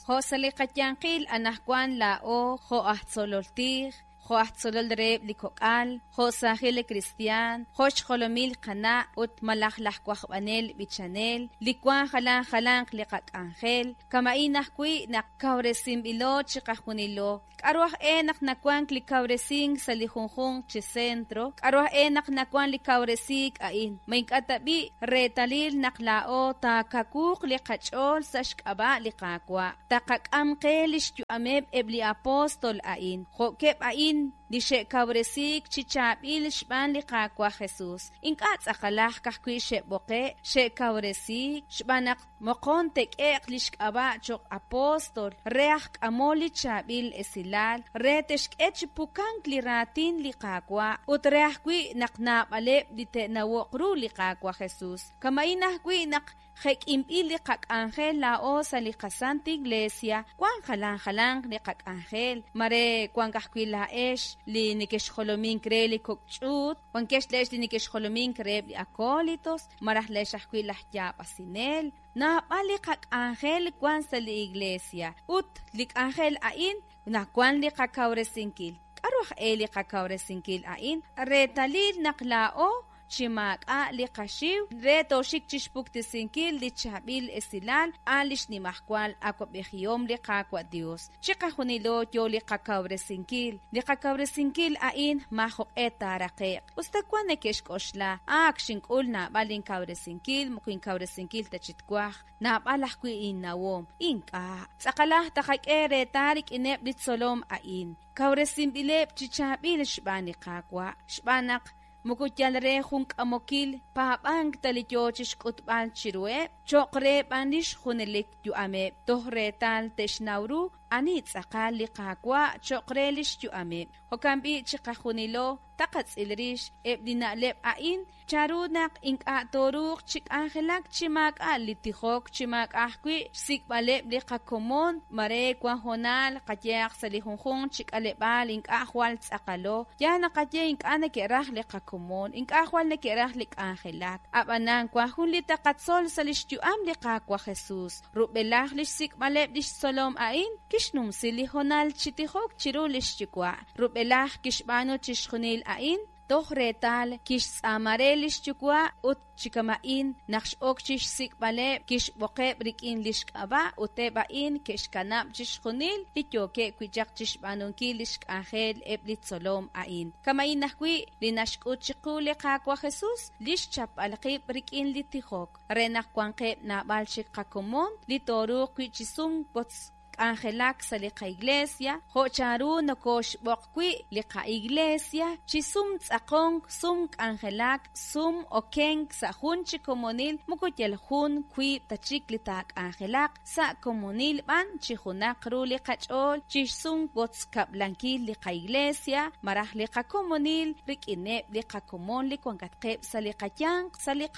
Jo' sa' li qayanqil anajwan laa'o jo' aj tzolol tij, jo' aj tzolol reheb' li kok'al, jo' saajil li kristiaan, jo' xjolomil qana' ut malaj laj wajb'anel b'ichanel, li wan jalan jalanq li qak'anjel, kama'in ajwi' naq kawresinb'ilo chiqajunilo. K'a'ru aj e naq nawank li kawresink sa' li junjunq chi centro? K'a'ru aj e naq nawank li kawresiik a'in? Ma ink'a' tab'i' reetalil naq laa'o taakawuuq li qach'ool sa' xk'ab'a' li Qaawa'? Taqak'am qe lix yu'ameb' eb' li apostol a'in, jo'keb' a'in li xe'kawresiik chi chaab'il xb'aan li Qaawa' Jesus. Ink'a' tz'aqalaj ka'ajwi' xe'b'oqe', xe'kawresiik, xb'aan naq moqon te'k'e'q lix k'ab'a' choq' apostol re aj k'amol li chaab'il esilal, re te'xk'e chi pukank li raatin li Qaawa' ut re ajwi' naq naab'aleb' li te'nawo'q ru li Qaawa' Jesus. Kama'in ajwi' naq jek'inb'il li qak'anjel laa'o sa' li qaSanta Iglesia, wan jalan jalanq li qak'anjel, mare wank ajwi' laa'ex li nekexjolomink re li kok' ch'uut, wankex laa'ex li nekexjolomink reheb' li acólitos, malaj laa'ex ajwi' laj yaab'asinel. Naab'al li qak'anjel wan sa' li Iglesia, ut li k'anjel a'in nawan li qakawresinkil. K'a'ru aj e li qakawresinkil a'in? Reetalil naq laa'o chi maak'a' li qaxiw re tooxik chixpuktesinkil li chaab'il esilal a' li xnimajwal awab'ejihom li Qaawa' Dios. Chiqajunilo yo li qakawresinkil. Li qakawresinkil a'in maajoq'e taaraqe'q. Us ta wan neke'xk'oxla, Ak xink'ul naab'al inkawresinkil, moko inkawresinkil ta chi twaj, naab'al ajwi' innawom. Ink'a'. Tz'aqalaj taqak'e reetal rik'ineb' li tzolom a'in. Kawresinb'ileb' chi chaab'il xb'aan li Qaawa', xb'aan naq moko yal re jun k'amokil paab'ank ta li yoo chixk'utb'al chiruheb', cho'q re b'an lix junelik yu'ameb' toj reetal te'xnaw ru ani tz'aqal li Qaawa' cho'q re lix yu'ameb'. Jo'kan b'i' chiqajunilo taqatz'il rix eb' li na'leb' a'in, chanru naq ink'a' tooruuq chi k'anjelak chi maak'a' li tijok, chi maak'a' ajwi' xsik'b'aleb' li qakomon, mare wan hoonal qayehaq sa' li junjunq chi k'aleb'aal ink'a' jwal tz'aqalo, yaal naqaye ink'a' neke'raj li qakomon, ink'a' jwal neke'raj li k'anjelak. A'b'anan wan jun li taqatzol sa' lix yu'am li Qaawa' Jesus. Rub'elaj lix sik'b'aleb' lix tzolom a'in, kixnumsi li hoonal chi tijok chiru lix Yuwa'. Rub'elaj kixb'aanu chixjunil a'in, toj reetal kixtz'aama re lix Yuwa' ut chi kama'in naq x'ok chixsik'b'aleb' kixb'oqeb' rik'in lix k'ab'a' ut eb' a'in ke'xkanab' chixjunil li yookeb' wi' chaq chixb'aanunkil lix k'anjel eb' li tzolom a'in. Kama'in ajwi' li naxk'ut chiqu li Qaawa' Jesus, lix chapb'al qib' rik'in li tijok, re naq wanqeb' naab'al chik qakomon li tooruuq wi' chi sum wotz k'anjelak sa' li qaiglesia, jo' chanru nokoxb'oq wi' li qaiglesia chi sum tz'aqonk, sum k'anjelak, sum okenk sa' jun chi komonil, moko yal jun wiib' ta chik li taak'anjelaq, sa' komonil b'an chi junaq ru li qach'ool chi xsum wotz kab'lankil li qaiglesia malaj li qakomonil rik'ineb' li qakomon li wankatqeb' sa' li qayanq sa' li.